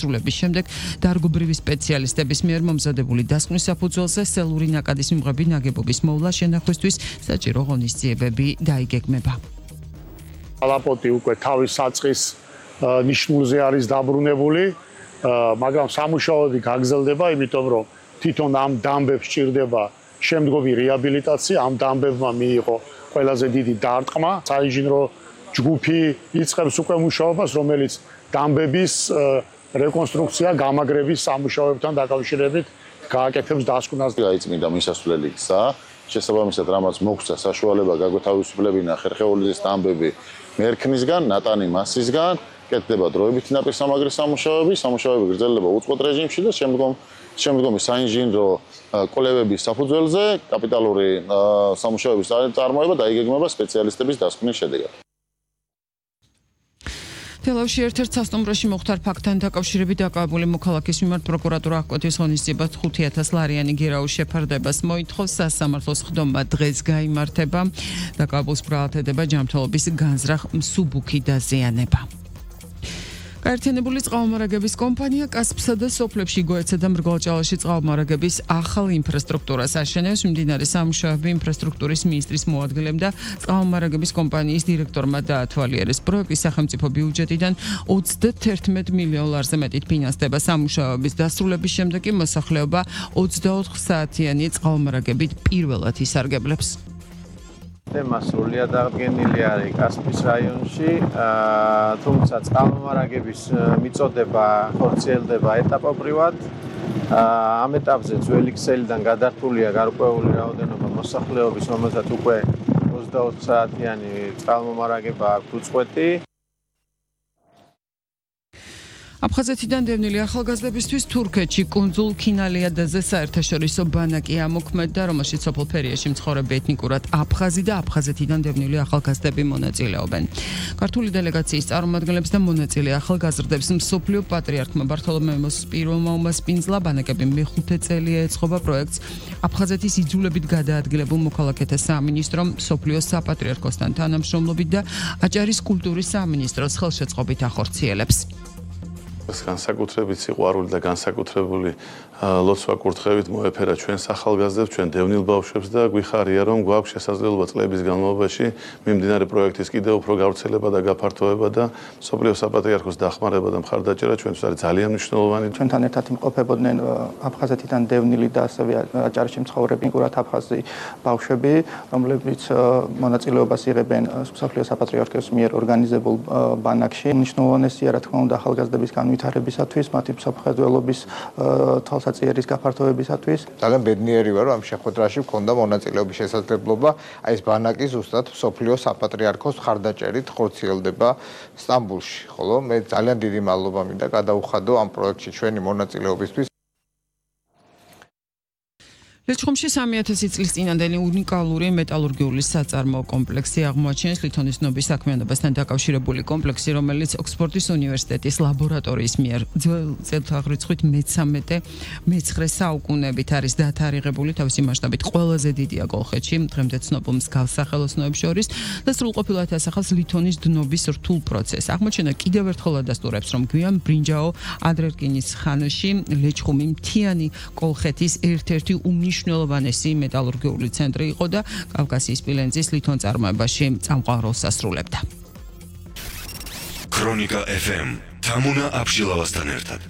დასრულების შემდეგ დარგობრივი სპეციალისტების მიერ მომზადებული დასკვნის საფუძველზე სელური ნაკადის მიღები ნაგებობის მოვლა შენახვისთვის საჭირო ღონისძიებები დაიგეგმება. ალაპოტი უკვე თავის საწყის ნიშნულზე არის დაბრუნებული, მაგრამ სამუშაოები გაგრძელდება, იმიტომ რომ თვითონ ამ დამბებს სჭირდება შემდგომი რეაბილიტაცია, ამ დამბებმა მიიღო ყველაზე დიდი დარტყმა. საინჟინრო ჯგუფი იწყებს უკვე მუშაობას, რომელიც დამბების რეკონსტრუქცია, გამაგრების სამუშაოებთან დაკავშირებით გააკეთებს დასკვნას. გაიწმინდა მისასვლელი გზა, შესაბამისად რამაც მოგვცა საშუალება გაგვეთავისუფლებინა ხერხეულიძის დამბები მერქნისგან, ნატანი მასისგან, კეთდება დროებითი ნაპირსამაგრის სამუშაოები გრძელდება უწყვეტ რეჟიმში და შემდგომი საინჟინრო კვლევების საფუძველზე კაპიტალური სამუშაოების წარმოება დაიგეგმება სპეციალისტების დასკვნის შედეგად. თელავში ერთ-ერთ სასტუმროში მოხდარ ფაქტთან დაკავშირებით დაკავებული მოქალაქის მიმართ პროკურატურა აღკვეთის ღონისძიებას 5,000 ლარიანი გირაოს შეფარდებას მოითხოვს. სასამართლოს ხდომა დღეს გაიმართება. დაკავებულს ბრალათედება ჯანმრთელობის განზრახ მსუბუქი დაზიანება. გაერთიანებული წყალმომარაგების კომპანია კასპსა და სოფლებში გოეცსა და მრგვალჭალაში წყალმომარაგების ახალ ინფრასტრუქტურას აშენებს. მიმდინარე სამუშაოები ინფრასტრუქტურის მინისტრის მოადგილემ და წყალმომარაგების კომპანიის დირექტორმა დაათვალიერეს. პროექტის სახელმწიფო ბიუჯეტიდან 31 მილიონ ლარზე მეტით ფინანსდება. სამუშაოების დასრულების შემდეგ კი მოსახლეობა 24 საათიანი წყალმომარაგებით პირველად ისარგებლებს. მასრულია დადგენილი არის კასპის რაიონში, თუმცა წყალმომარაგების მიწოდება ხორციელდება ეტაპობრივად. ამ ეტაპზე ძველი ქსელიდან გადართულია გარკვეული რაოდენობა მოსახლეობის, რომელსაც უკვე 24 საათიანი წყალმომარაგება აქვს უწყვეტი. აფხაზეთიდან დევნილი ახალგაზრდებისთვის თურქეთში კუნძულ ქინალიადაზე საერთაშორისო ბანაკი ამოქმედდა, რომელშიც სოფელ ფერიაში მცხოვრები ეთნიკურად აფხაზი და აფხაზეთიდან დევნილი ახალგაზრდები მონაწილეობენ. ქართული დელეგაციის წარმომადგენლებს და მონაწილე ახალგაზრდებს მსოფლიო პატრიარქმა ბართოლომეოს პირველმა უმასპინძლა ბანაკები მეხუთე წელია ეწყობა პროექტს. აფხაზეთის იძულებით გადაადგილებულ მოქალაქეთა სამინისტრომ, მსოფლიო საპატრიარქოსთან თანამშრომლობით და აჭარის კულტურის სამინისტროს ხელშეწყობით ახორციელებს. განსაკუთრებით სიყვარული და განსაკუთრებული ლოცვა კურთხევით მოეფერა ჩვენს ახალგაზრდებს, ჩვენ დევნილ ბავშვებს და გვიხარია, რომ გვაქვს შესაძლებლობა წლების განმავლობაში მიმდინარე პროექტის კიდევ უფრო გავრცელება და გაფართოება და მსოფლიო საპატრიარქოს დახმარება და მხარდაჭერა ჩვენთვის არის ძალიან მნიშვნელოვანი. ჩვენთან ერთად იმყოფებოდნენ აფხაზეთიდან დევნილი და ასევე აჭარაში მცხოვრები ეთნიკურად აფხაზი ბავშვები, რომლებიც მონაწილეობას იღებენ მსოფლიო საპატრიარქოს მიერ ორგანიზებულ ბანაკში. მნიშვნელოვანია, რა თქმა უნდა, ახალგაზრდების განვითარებისათვის, მათი მსოფლმხედველობის თვალსაწიერის გაფართოებისათვის. ძალიან ბედნიერი ვარ, რომ ამ შეხვედრაში მქონდა მონაწილეობის შესაძლებლობა. აი ეს ბანაკი ზუსტად მსოფლიო საპატრიარქოს მხარდაჭერით ხორციელდება სტამბულში. ხოლო მე ძალიან დიდი მადლობა მინდა გადაუხადო ამ პროექტში ჩვენი მონაწილეობისთვის. ლეჩხუმში 3000 წლის წინანდელი უნიკალური მეტალურგიული საწარმოო კომპლექსი აღმოაჩენს. ლითონის ნობის საქმიანობასთან დაკავშირებული კომპლექსი, რომელიც ოქსფორდის უნივერსიტეტის ლაბორატორიის მიერ ძველ წელთაღრიცხვით მე-19 საუკუნებით არის დათარიღებული. თავისი მასშტაბით ყველაზე დიდია კოლხეთში, დღემდე ცნობილ მსგავს სახელოსნოებს შორის და სრულყოფილად ასახავს ლითონის დნობის რთულ პროცესს. აღმოჩენა კიდევ ერთხელ ადასტურებს, რომ გვიან ბრინჯაო ადრერკინის ხანაში ლეჩხუმი მთიანი კოლხეთის ერთ-ერთი მნიშვნელოვანესი მეტალურგიული ცენტრი იყო და კავკასიის სპილენძის ლითონწარმოებაში წამყვან ასრულებდა. ქრონიკა FM თამუნა აბშილავასთან ერთად.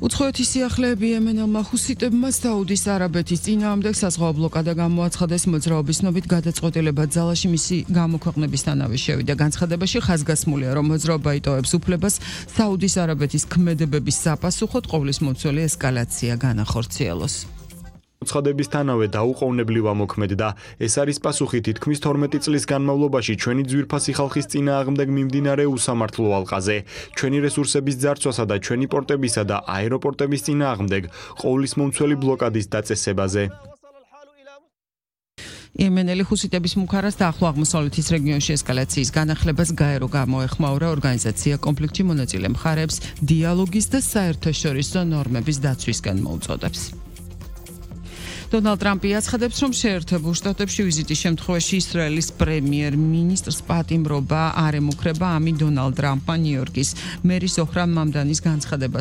უცხოეთის სიახლეები იემენელმა ჰუსიტებმა საუდის არაბეთის წინააღმდეგ საზღვაო ბლოკადა გამოაცხადეს. მოძრაობის ცნობით გადაწყვეტილება ძალაში მისი გამოქვეყნებისთანავე შევიდა. განცხადებაში ხაზგასმულია, რომ მოძრაობა იტოვებს უფლებას საუდის არაბეთის ქმედებების საპასუხოდ ყოვლისმომცველი ესკალაცია განახორციელოს. უცხოდებისთანავე დაუყოვნებლივ ამოქმედდა. ეს არის პასუხი თითქმის 12 წლის განმავლობაში ჩვენი ძვირფასი ხალხის წინააღმდეგ მიმდინარე უსამართლო ალყაზე, ჩვენი რესურსების ძარცვასა და ჩვენი პორტებისა და აეროპორტების წინააღმდეგ ყოვლისმომცველი ბლოკადის დაწესებაზე. იემენელი ჰუსიტების მუქარას და ახლო აღმოსავლეთის რეგიონში ესკალაციის განახლებას გაერო გამოეხმაურა. ორგანიზაცია კონფლიქტში მონაწილე მხარეებს დიალოგის და საერთაშორისო ნორმების დაცვისკენ მოუწოდებს. დონალდ ტრამპი აცხადებს, რომ შეერთებულ შტატებში ვიზიტის შემთხვევაში ისრაელის პრემიერ-მინისტრს პატიმრობა არ ემუქრება. ამით დონალდ ტრამპმა ნიუ-იორკის მერის ოჰრან მამდანის განცხადებას